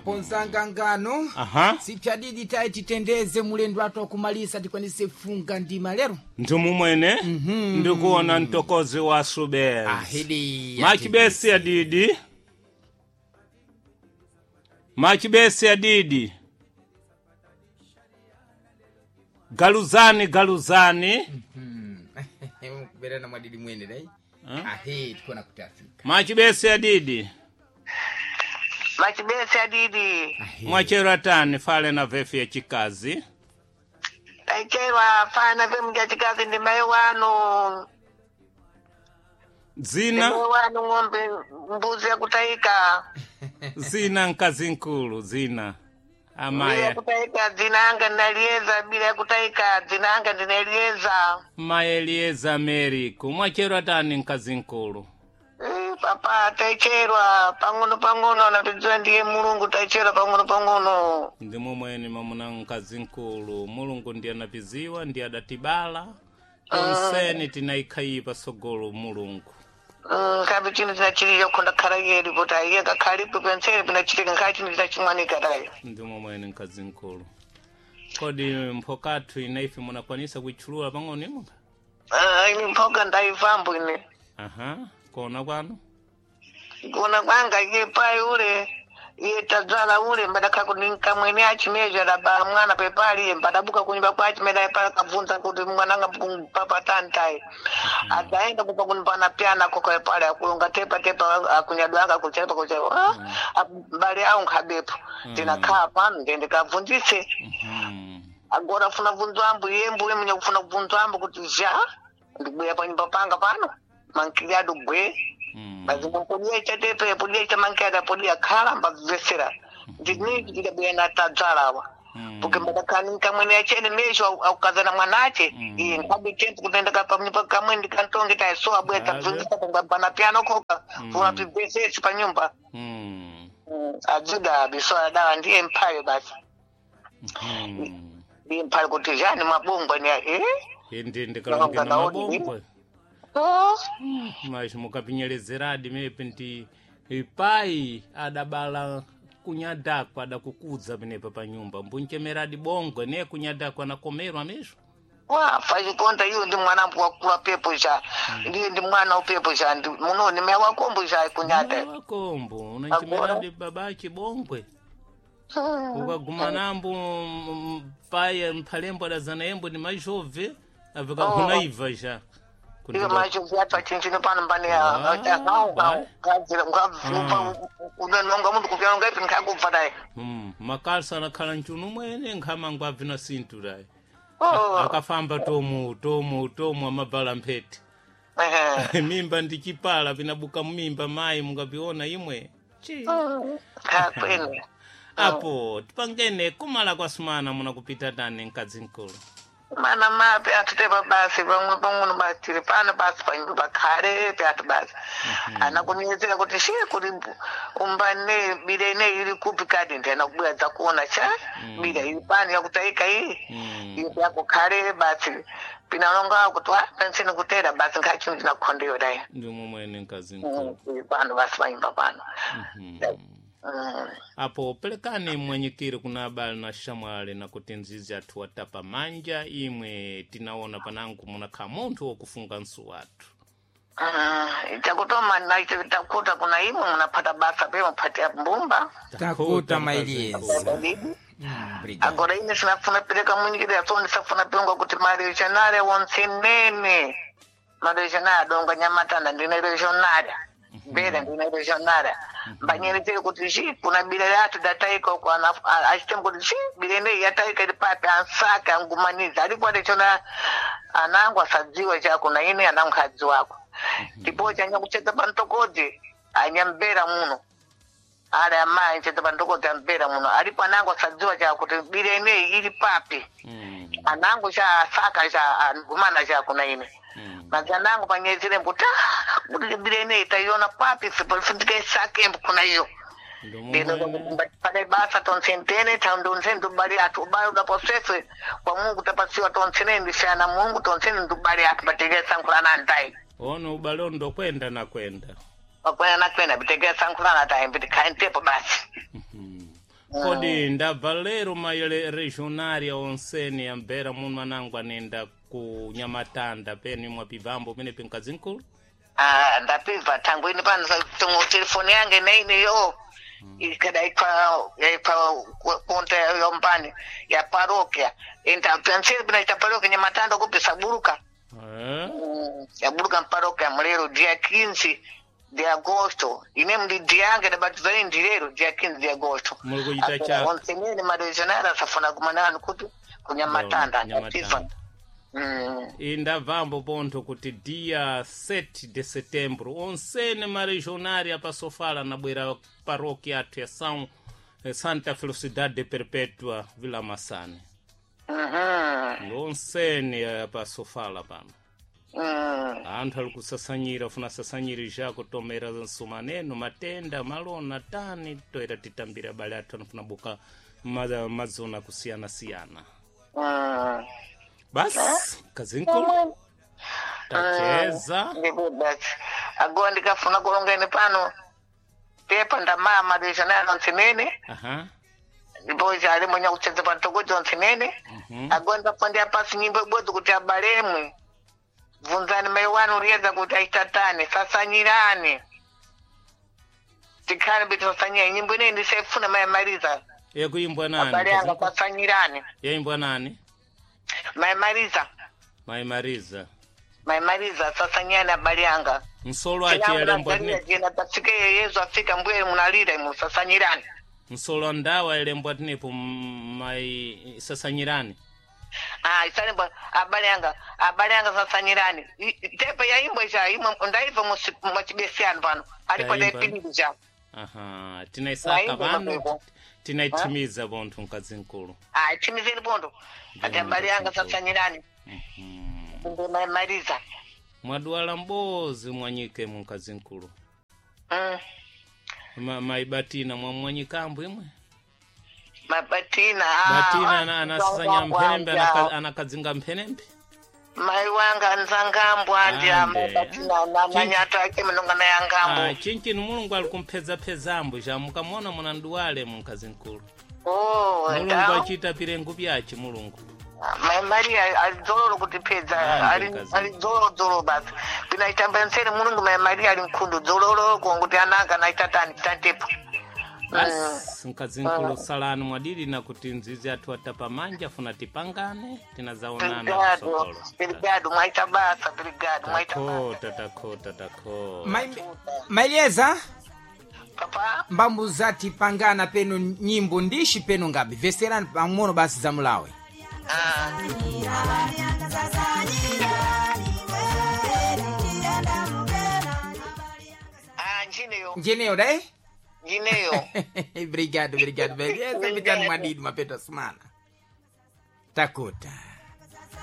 Apo nzangangano Aha. sipyadidi tayi titendeze mulendo athu akumalisa tikwanise funga ndima lero. Ndimumwene ndikuona mtokozi wa subezi. Ahidi. Machibesi ya didi. Machibesi ya didi. Galuzani galuzani. Kuberana mwadidi mwene dai. Ahe tikuona kuti afika. Machibesi ya didi. Machibesi adidi. Ahe. Mwachera tani fale na vefu ya chikazi. Taicherwa fana vemja chikazi ndi mai wanu. Ndi Zina mai wanu ng'ombe mbuzi yakutaika. zina nkazi nkulu zina. Bila Amaya kutaika dzina anga ndinalieza bila yakutaika dzina anga ndinalieza. Maelieza Americo. Mwachera tani nkazi nkulu. Eh, papa taicherwa pang'ono pang'ono anatidziwa ndiye Mulungu taicherwa pang'ono pang'ono. Ndi momwene mamuna mkazi nkulu mulungu ndiye anapiziwa ndiye adatibala tonseni tinaikhayi pasogolo mulungu. Kabi chinthu chinachilira khonda khala yeri kuti aiye kakhalipo penseli pinachitika nkhala chinthu chinachimwanika tayo. Ndi momwene mkazi nkulu. Kodi mphokathu inaife munakwanisa kuitchulula pang'ono imwe? Ah, ine mphoka ndaivambo ine. Aha, kona kwanu. Kuona kwanga iye pai ule iye tadzala ule mbadakha kuti nkamwene achimezha adabala mwana pepali iye mbadabuka kunyumba kwa achimeda pali kabvunza kuti mwananga papatantayi adzaenda kupa kunipana pyana koka pali akulonga tepa tepa akunyadwa anga kuchepa kuchepa mbali awo nkhabepo ndinakhala pano ndiye ndikabvunzise. Agora funa bvunzo ambo iye mbuye mwenye kufuna kubvunzo ambo kuti zha ndibweya panyumba panga pano mankili adu gwe. Mazimbo chatepe podiya chamankada podiya khala mbabvesera ndiniki ndidabwera na tadzalawa porque mbadakhani kamwene achene mesho aukazana mwanache iye nkhabe tempo kutenda kapanyumba kamwe ndikantonge taiso abwera tabvunzisa pangabana piano koka funa tibvesesi panyumba. Ajuda biso adawa ndiye mphayo basi ndiye mphayo kuti jani mabungwa ni eh. Indi ndikalongena Ndalonga nawo. mabongwe. Oh. Mas mukapinyerezeradi mepe nti ipai adabala kunyadakwa adakukudza penepa pa nyumba mbunchemeradi bongwe ne kunyadakwa anakomerwa mesho. Wafa chikonda iwo ndi mwana wakula pepo cha ndiye ndi mwana upepo cha ndi muno ni mewa wakombo cha kunyata. Wakombo unanchemeradi babache bongwe ukaguma nambo pai mphalembo adazana yembo ni majove avikakunaiva ja. Iyo macho vyatwa chinchino pano mbani ya unonga mundu kupyanonga ipi nkakubva dai. Makalsa anakhala mchunu mwene nkhamangu abvina sinthu dai. Oh. Akafamba tomu tomu tomu amabvala mphete. Ehe. Mimba ndi chipala pinabuka mimba mayi mungapiona imwe chi. Kakwene. Apo tipangene kumala kwa sumana munakupita tani mkadzi mkulu. Mana mapi atutepa basi pamwe pang'ono basi tiri pano basi panyumba pakhale pyatu basi anakunyezera kuti she kuti umbane bila ine ili kupi kadi ndi anakubwera dzakuona cha bila ili pano yakutaika iyi iyo yakukhale basi pinalonga kuti wa penseni kutera basi nkha chinthu chinakukhondeyo dai. Ndi momwene mkazi mkulu. Ili pano basi panyumba pano. Apo pelekani mwenyekeri kuna abale na shamwali na kuti nzizi athu watapa manja imwe tinaona panangu munakhala munthu wokufunga nsu wathu. Chakutoma takuta kuna imwe munapata basa pe muphatia mbumba. Takuta mailieza. Obrigado. Agora ine sinafuna pereka munyikira so ndisafuna pengwa kuti maregionale wonse maregionale adonga nyamatanda ndine regionale bera ndine regionale mbanyerezere kuti chi kuna bila yathu dataika uko achitemu kuti chi bila ineyi yataika ili papi ansake angumaniza alipo adechona anangu asadziwa chako na ine anangu adziwako ndipo chanyakuchedza pantokodzi anyambera muno ali amayi nchedza pantokodzi ambera muno alipo anangu asadziwa chakuti bila ineyi ili papi anangu cha asaka cha angumana chako na ine mazanangu panyezere mbuti kuti bila ineyi taiona papi sindikaisake kuna iyo. Ndi Ndino momwene pale basa tonsentene tandonse ndubali atu ubali udaposeswe kwa Mungu tapasiwa tonsene ndishana Mungu tonsene ndubali atu bategesa nkulana ntai. Ono ubale ndokwenda na kwenda. Wakwena nakwena bitegesa nkulana tai mbiti kaintepo basi. Kodi ndabva lero maile regionaria onsene yambera muno anangu anenda ku Nyamatanda penu imwe pibambo pene pinkazinkulu. Ah, ndapibva tangu ini pano tongo telefoni yange neiniyo ikadaikwa yaikwa konta yombani ya parokia intapansiri pinaita parokia Nyamatanda kupi saburuka. Eh? Yaburuka mparokia mulero dia 15 de agosto ine mdidi yange ndabatizani ndilero dia 15 de agosto. Muri kuchita chaka. Onsenene maregional asafuna kumanani kuti kunyamatanda ndapibva. Nyamatanda. Indabvambo pontho kuti dia 7 de setembro onsene maregionaria pasofala anabwera parokia athu ya São Santa Felicidade de Perpétua Vila Massane. Onsene pasofala pano. Anthu ali kusasanyira funa sasanyiri jako tomera nsumaneno matenda malona tani toera titambira abale athu anafuna buka mazona kusiyana-siyana. Basi kazinkulu tacheza. Ndipo basi agowa ndikafuna kulongeni pano pepa ndamaya maregional onsenene. Aha. Ndipo ali mwenye kucheza pantokoji onsenene. Agowa ndafundira pasi nyimbo ibodzi kuti abalemwe bvunzani mai wanu riyedza kuti achitatani sasanyirani tikhale mbiti sasanyira nyimbo ineyi ndisaifuna maimariza. Yakuimbwa nani? Abale anga Kazinkulu? sasanyirani. Yaimbwa nani? Maimariza. Maimariza. Maimariza sasanyirani abale anga. Msolo ache yalembwa tinepo. Jena tafika yeyezo afika mbwere munalira imu sasanyirani. Msolo ndawa yalembwa tinepo mai sasanyirani. Ah, isalembwa abale anga, abale anga sasanyirani. Tepe ya imbo isha imwe ndaiva mwachibesiano pano alipo Ndaimba. daipindu cha. Aha, tinaisaka Naimba pano mapeko. tinaitimiza pontho mkazinkulu. Ah, itimizeni pondo ati abale anga sasanyirani. Ndi maimariza. Mwadwala mbozi mwanyike mu mkazinkulu. Maibatina mwamwanyikambo imwe. Mabatina. Batina anasasanya mphenembe anakadzinga mphenembe. Mai wanga nzangambo andya. Ande. Mabatina namanyata ake munonga na yangambo. Ah, chinchini mulungu ali kumphedzapedzambo ja mukamona munanduwale mu mkazinkulu. Oh, Mulungu ndau. achita pirengu pyace mulungu. Mai Maria alidzololo kutipedza. Ande, kazi. Alidzolodzolo basi pinaitamba nseri mulungu mai Maria ali mkhundu dzololo konguti ananga naitatani tantepo. Basi mkazinkulu salani mwadili na kuti nzizi athu atapamanja funa tipangane tinazaonana Brigado, kusokolo. brigado mwaita basa, brigado mwaita basa. Takhota takhota takhota. Mailieza Papa. mbambu zati pangana penu nyimbo ndishi penu ngabe veserani pang'ono basi za mulawe. Ah. Ah, njineyo. Njeneyo dai. Njineyo. Obrigado, obrigado. Beleza, vitani mwadidi mapeto asumana. Takuta.